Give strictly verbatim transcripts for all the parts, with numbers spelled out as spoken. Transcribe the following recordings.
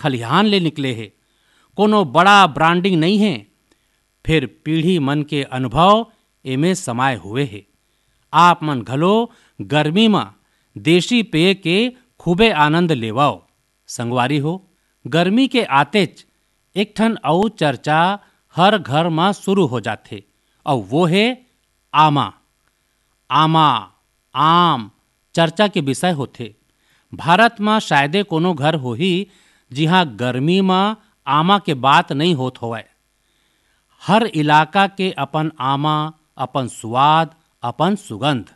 खलिहान ले निकले हे। कोनो बड़ा ब्रांडिंग नइ हे, फेर पीढ़ी मन के अनुभव एमे समाये हुए हे। आप मन घलो गर्मी म देशी पेय के खूबे आनंद लेवव। संगवारी हो, गर्मी के आतेच एक ठन अउ चर्चा हर घर म शुरू हो जाथे, अउ वो हे आमा। आमा, आम चर्चा के विषय होथे। भारत म शायदे कोनो घर होही, जिहां गर्मी म आमा के बात नइ होत होवय। हर इलाका के अपन आमा, अपन सुवाद, अपन सुगंध।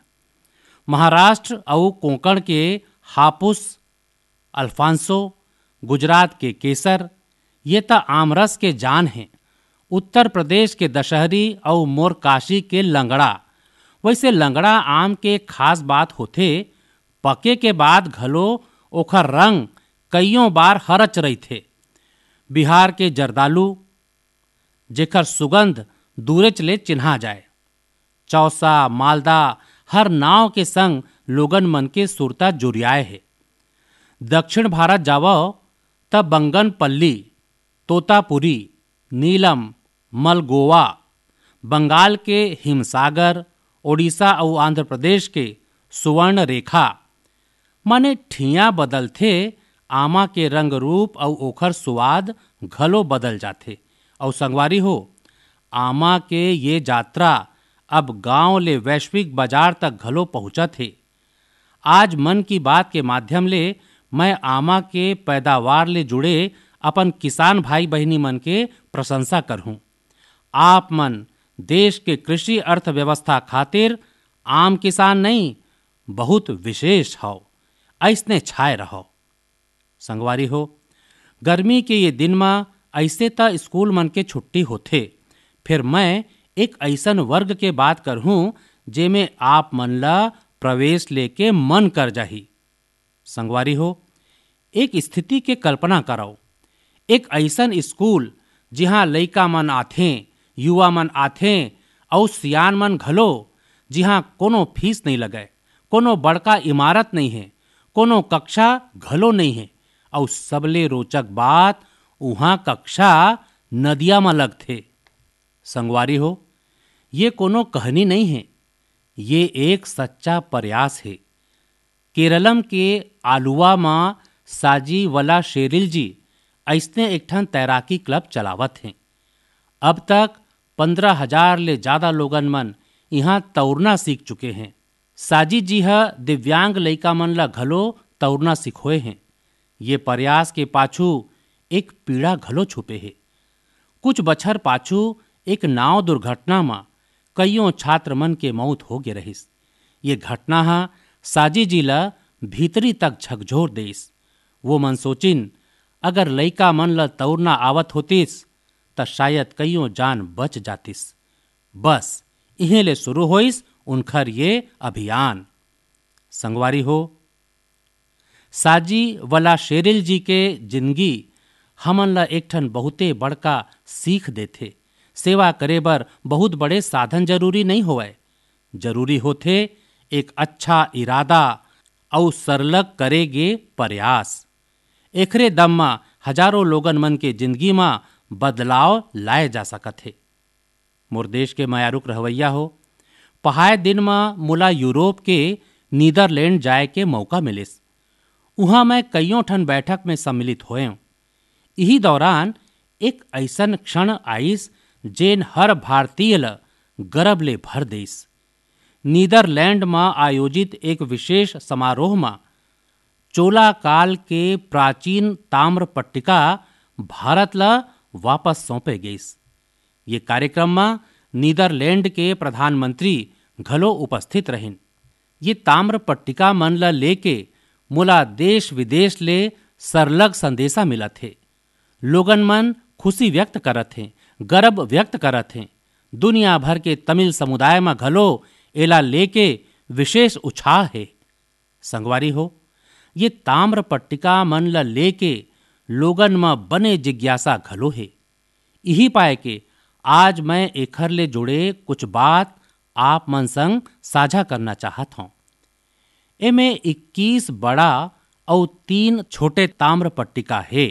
महाराष्ट्र अउ कोंकण के हापुस, अल्फांसो, गुजरात के केसर, ये त आमरस के जान हे। उत्तर प्रदेश के दशहरी अउ मोर काशी के लंगड़ा। वैसे लंगड़ा आम के खास बात होथे, पके के बाद घलो ओखर रंग कइयों बार हरच रहिथे। बिहार के जरदालू, जेकर सुगंध दूरेच ले चिन्हा जाय। चौसा, मालदा, हर नाव के संग लोगन मन के सुरता जुरियाए हे। दक्षिण भारत जावव, त बंगनपल्ली, तोतापुरी, नीलम, मलगोवा, बंगाल के हिमसागर, ओडिशा अउ आंध्र प्रदेश के सुवर्ण रेखा, माने ठिया बदलथे, आमा के रंग रूप अउ ओखर सुवाद घलो बदल जाथे। अउ संगवारी हो, आमा के ये जात्रा अब गांव ले वैश्विक बाजार तक घलो पहुंचत हे। आज मन की बात के माध्यम ले मैं आमा के पैदावार ले जुड़े अपन किसान भाई बहिनी मन के प्रशंसा करहूं। आप मन देश के कृषि अर्थव्यवस्था खातिर आम किसान नहीं, बहुत विशेष हव। अइसने छाए रहव। संगवारी हो, गर्मी के ये दिन म अइसे त स्कूल मन के छुट्टी होथे, फेर मैं एक अइसन वर्ग के बात करहूं, जेमे आप मन ल प्रवेश लेके मन कर जाही। संगवारी हो, एक स्थिति के कल्पना करव। एक अइसन स्कूल, जिहां लइका मन आथें, युवा मन आथें अउ सियान मन घलो, जिहां कोनो फीस नइ लगय, कोनो बड़का इमारत नइ हे, कोनो कक्षा घलो नइ हे, अउ सबले रोचक बात, उहां कक्षा नदिया म लगथे। संगवारी हो, ये कोनो कहनी नइ हे, ये एक सच्चा प्रयास हे। केरलम के आलुवा म साजी वलाशेरिल जी अइसने एक ठन तैराकी क्लब चलावत हें। अब तक पन्द्रह हजार ले जादा लोगन मन इहां तउरना सीख चुके हें। साजी जी ह दिव्यांग लइका मन ल घलो तउरना सिखोए हें। ये प्रयास के पाछू एक पीड़ा घलो छुपे हे। कुछ बछर पाछू एक नाव दुर्घटना म कइयों छात्र मन के मउत हो गे रहिस। ये घटना ह साजी जी ल भीतरी तक झकझोर देइस। वो मन सोचिन, अगर लइका मन ल तउरना आवत होतिस, त शायद कइयों जान बच जातिस। बस, इहें ले शुरू होइस उनखर ये अभियान। संगवारी हो, साजी वलाशेरिल जी के जिनगी हमन ल एक ठन बहुते बड़का सीख देथे। सेवा करे बर बहुत बड़े साधन जरूरी नइ होवय, जरूरी होथे एक अच्छा इरादा अउ सरलग करे गे प्रयास। एखरे दम म हजारों लोगन मन के जिनगी म बदलाव लाए जा सकत हे। मोर देश के मयारुक रहवैया हो, पहाय दिन म मोला यूरोप के नीदरलैंड जाए के मौका मिलिस। उहां मैं कइयों ठन बैठक में सम्मिलित होएंव। इही दौरान एक अइसन क्षण आइस, जेन हर भारतीय ल गरब ले भर देइस। नीदरलैंड म आयोजित एक विशेष समारोह म चोला काल के प्राचीन ताम्र पट्टिका भारत ल वापस सौंपे गइस। ये कार्यक्रम म नीदरलैंड के प्रधानमंत्री घलो उपस्थित रहिन। ये ताम्र पट्टिका मन ल लेके मोला देश विदेश ले सरलग संदेशा मिलत हे। लोगन मन खुशी व्यक्त करत हें, गर्व व्यक्त करत हें। दुनिया भर के तमिल समुदाय म घलो एला लेके विशेष उछाह हे। संगवारी हो, ये ताम्र पट्टिका मन ल लेके लोगन म बने जिज्ञासा घलो हे। इही पाय के आज मैं एखर ले जुड़े कुछ बात आप मन संग साझा करना चाहत हौं। एमे इक्कीस बड़ा अउ तीन छोटे ताम्र पट्टिका हे।